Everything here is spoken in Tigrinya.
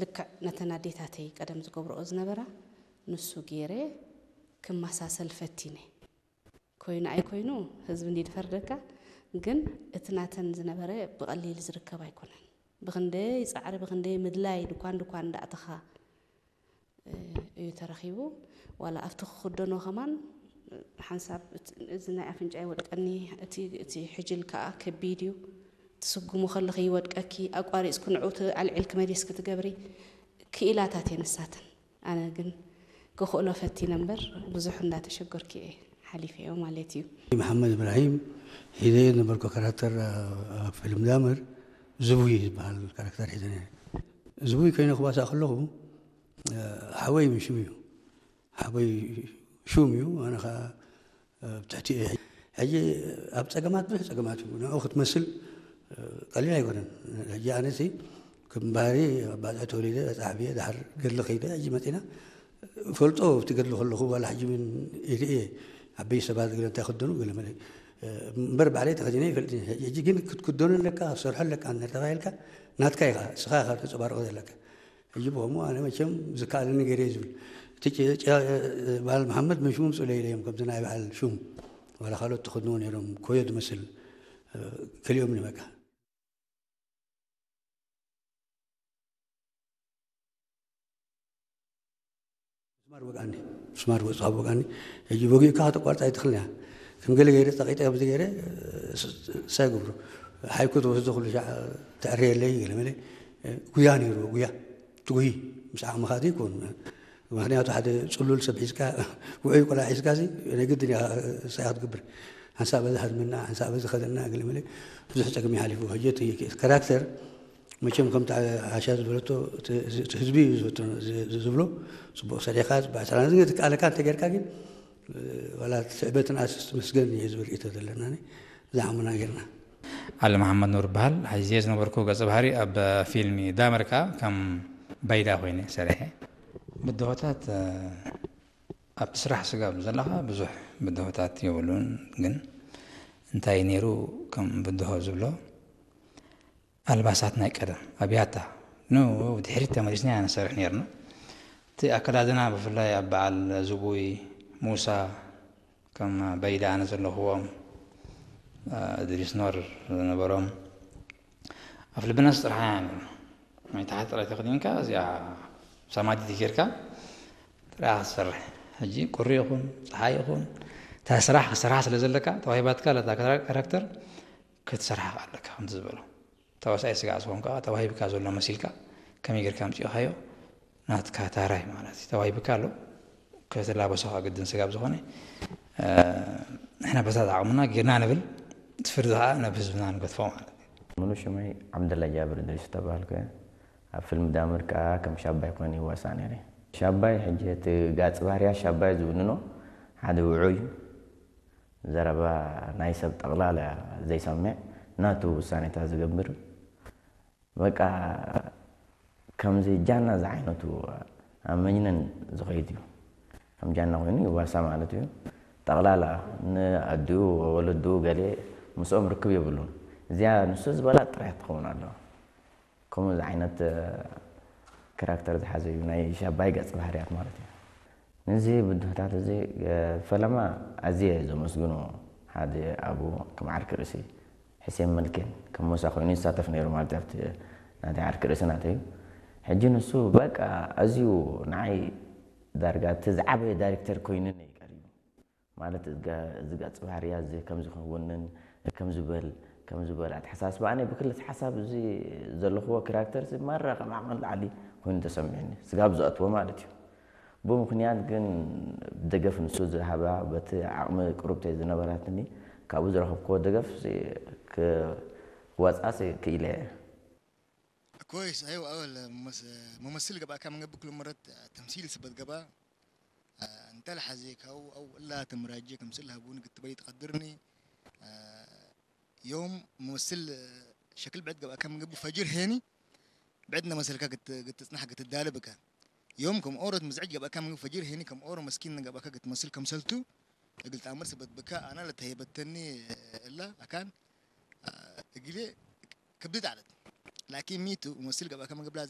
ልክዕ ነተን ኣዴታተይ ቀደም ዝገብርኦ ዝነበራ ንሱ ገይረ ክመሳሰል ፈቲነ። ኮይኑ ኣይኮይኑ ህዝቢ እንዲ ዝፈርደካ፣ ግን እቲ ናተን ዝነበረ ብቐሊል ዝርከብ ኣይኮነን። ብኽንደይ ጻዕሪ፣ ብኽንደይ ምድላይ ድኳን ድኳን እንዳእተኻ እዩ ተረኺቡ። ዋላ ኣብቲ ክኽደኖ ከማን ሓንሳብ እቲ፣ እዚ ናይ ኣፍንጫ ይወድቀኒ፣ እቲ፣ እቲ ሕጅል ከኣ ከቢድ እዩ። ትስጉሙ ከለኺ ይወድቀኪ፣ ኣቋሪጽኩ ንዕኡ ኣልዒልኪ መሊስኪ ትገብሪ ክኢላታት እየን ንሳተን። ኣነ ግን ክኽእሎ ፈቲነ እምበር ብዙሕ እንዳተሸገርኩ እየ ሓሊፈዮ ማለት እዩ። መሓመድ እብራሂም ሒዘዮ ዝነበርኩ ካራክተር ኣብ ፊልም ዳመር ዝቡይ ዝበሃል ካራክተር ሒዘ ነይረ። ዝቡይ ኮይነ ክዋሳእ ከለኹ ሓወይ ምሽም እዩ። ሓወይ ሹም እዩ፣ ኣነ ኸዓ ኣብ ትሕቲ እየ። ሕጂ ኣብ ጸገማት፣ ብዙሕ ጸገማት እዩ። ንዕኡ ክትመስል ቀሊል ኣይኮነን። ሕጂ ኣነሲ ከም ባህሪ ኣብ ባጽዕ ተወሊደ፣ ባጽዕ ዓብየ፣ ድሓር ገድሊ ከይደ፣ ሕጂ መጺና ፈልጦ ኣብቲ ገድሊ ከለኹ፣ ዋላ ሕጂ እውን ይርእየ፣ ዓበይቲ ሰባት ገለ እንታይ ክደኑ ገለ መለ እምበር ባዕለይ ተኸዲነ ይፈልጥ እየ። ሕጂ ግን ክትክደኖ ኣለካ፣ ክትሰርሖ ኣለካ እንተተባሂልካ ናትካ ኢኻ፣ ንስኻ ኢኻ ተንጸባርቖ ዘለካ። ሕጂ ብኸምኡ ኣነ መቸም ዝከኣለኒ ገይረ እየ ዝብል። እቲ ጭ-፣ ጭ-፣ በዓል መሓመድ መሽሙ ምጽኡ ኢለ እዮም፣ ከምዚ ናይ በዓል ሹም ዋላ ካልኦት ተኸድንዎ ነይሮም፣ ኮዮ ዝመስል፣ እ፣ ከሊኦም ንበቃ። ምስማር ወግኣኒ፣ ምስማር ወጽ-፣ ካብ ወግኣኒ፣ ሕጂ ወጊእካ ከተቋርጻ ኣይትኽእልን እያ። ከም ገለ ገይረ ጸቒጠ ከምዚ ገይረ፣ ስ-፣ ስ-፣ ሳይ ገብሩ፣ ሓይኩ ትወስዶ ኩሉ ሻዕ ተዕርየለይ ገለ መለ፣ ጉያ ነይሩ፣ ጉያ። ትጉሂ፣ ምስ ዓቕምኻ ዘይኮን። ምኽንያቱ ሓደ ጽሉል ሰብ ሒዝካ፣ ውዑይ ቆልዓ ሒዝካሲ፣ ናይ ግድን እያ ሳይ ክትገብር። ሓንሳብ በዚ ሃድመና፣ ሓንሳብ በዚ ከደና፣ ገለ መለ፣ ብዙሕ ጸገም ይሓሊፉ። ሕጂ እቲ ካራክተር፣ መቸም ከምቲ ዓሻ ዝበለቶ፣ እቲ፣ እቲ ህዝቢ እዩ ዝብሎ፣ ዝ-፣ ዝ-፣ ዝብሎ፣ ጽቡቕ ሰሪሕካ፣ ጽቡቕ ሰራሕና፣ ዝገ-፣ ትከኣለካ እንተጌርካ ግን፣ ዋላ ትዕበትን ኣስስ መስገን እየ ዝብል ርእይቶ ዘለና፣ እዛ ዓሙና ጌርና። ዓሊ መሓመድ ኑር ይበሃል። ሒዘዮ ዝነበርኩ ገጸ ባህሪ ኣብ ፊልሚ ዳመር ከኣ ከም ባይዳ ኮይነ ሰሪሐ። ብድሆታት፣ እ፣ ኣብቲ ስራሕ ስጋብ ዘለኻ ብዙሕ ብድሆታት የብሉን፣ ግን እንታይ ነይሩ ከም ብድሆ ዝብሎ፣ ኣልባሳት ናይ ቀደም ኣብያታ ን-፣ ድሕሪት ተመሊስና ኢና ንሰርሕ ነይርና። እቲ ኣከዳድና ብፍላይ ኣብ በዓል ዝቡይ፣ ሙሳ፣ ከም በይዳ ኣነ ዘለኹዎም፣ እ፣ እድሪስ ኖር ዝነበሮም፣ ኣፍ ልብና ዝጥርሓ ኢና ነይርና። ናይ ታሕቲ ጥራይ ተኸዲንካ፣ እዚኣ ሳማዲት ጌርካ ጥራይ ክትሰርሕ። ሕጂ ቁሪ ይኹን፣ ጸሓይ ይኹን፣ እታ ስራሕ ክሰርሓ ስለ ዘለካ፣ ተዋሂባትካ ለታ ካራክተር ክትሰርሓ ኣለካ፣ ከምቲ ዝበሎ። ተዋሳኣይ ስጋዕ ዝኾንካ፣ ተዋሂብካ ዘሎ መሲልካ፣ ከመይ ጌርካ ኣምጺእኻዮ? ናትካ ታራይ ማለት እዩ። ተዋሂብካ ኣሎ፣ ከተላበሶ ከኣ ግድን ስጋብ ዝኾነ፣ እ፣ ንሕና በታ ዓቕምና ጌርና ንብል፣ እቲ ፍርዲ ከኣ ናብ ህዝብና ንገድፎ ማለት እዩ። ሙሉ ሽመይ ዓብደላ ጃብር እድሪስ ዝተባህልኩ እየ። ኣብ ፊልም ዳመር ከኣ ከም ሻባይ ኮይነ ይዋሳእ ነይረ። ሻባይ፣ ሕጂ እቲ ጋጽ ባህርያ ሻባይ ዝውንኖ ሓደ ውዑይ፣ ዘረባ ናይ ሰብ ጠቕላላ ዘይሰምዕ፣ ናቱ ውሳኔታት ዝገብር፣ በቃ ከምዚ ጃና ዝዓይነቱ ኣብ መጅነን ዝኸይድ እዩ። ከም ጃና ኮይኑ ይዋሳ ማለት እዩ። ጠቕላላ ንኣዲኡ፣ ወለድኡ ገለ ምስኦም ርክብ የብሉን። እዚኣ ንሱ ዝበላ ጥራይ ትኸውን ኣለዋ። ከምኡ ዓይነት፣ እ፣ ካራክተር ዝሓዘ እዩ፣ ናይ ሻባይ ገጽ ባህርያት ማለት እዩ። ነዚ ብድሆታት እዚ፣ እ፣ ፈለማ ኣዝየ ዘመስግኖ ሓደ ኣቦ ከም ዓርኪ ርእሲ ሕሴን መልኬን ከም ሞሳ ኮይኑ ይሳተፍ ነይሩ ማለት እዩ፣ ኣብቲ ናተይ ዓርኪ ርእሲ ናተይ እዩ። ሕጂ ንሱ በቃ ኣዝዩ ንዓይ ዳርጋ እቲ ዝዓበየ ዳይሬክተር ኮይኑኒ እዩ ቀሪቡ። ማለት እዚ ገ-፣ እዚ ገጽ ባህርያ እዚ ከም ዝኸውንን ከም ዝበል፣ ከም ዝበል ኣተሓሳስባ ኣነ ብክልተ ሓሳብ እዚ ዘለኽዎ ካራክተር እዚ ማራ ካብ ዓቕሚ ንላዕሊ ኮይኑ ተሰሚዑኒ። ስጋብ ዝኣትዎ ማለት እዩ። ብምኽንያት ግን ደገፍ ንሱ ዝሃባ በቲ ዓቕሚ ቅሩብተይ ዝነበራትኒ ካብኡ ዝረኸብክዎ ደገፍ እዚ ክ-፣ ክወጻስ ክኢለ እየ። كويس، أيوة، أول ممس-، ممثل قبل كم قبل كل مرة تمثيل سبت قبل. آه، انت الحزيك أو، أو لا تمراجيك مثل هبوني قلت بلي تقدرني. آه، يوم ممثل، آه، شكل بعد قبل كم قبل فجر هيني. بعدنا مثل كا قلت، قلت تصنح قلت الدالبكا. يوم كم أورت مزعج قبل كم قبل فجر هيني، كم أورت مسكين قبل كا قلت مثل كم سلتو. قلت أمر سبت بكا أنا لتهيبتني، آه، إلا أكان، آه، قلي كبدت على. لكن ميتو ممثل قبل كم قبل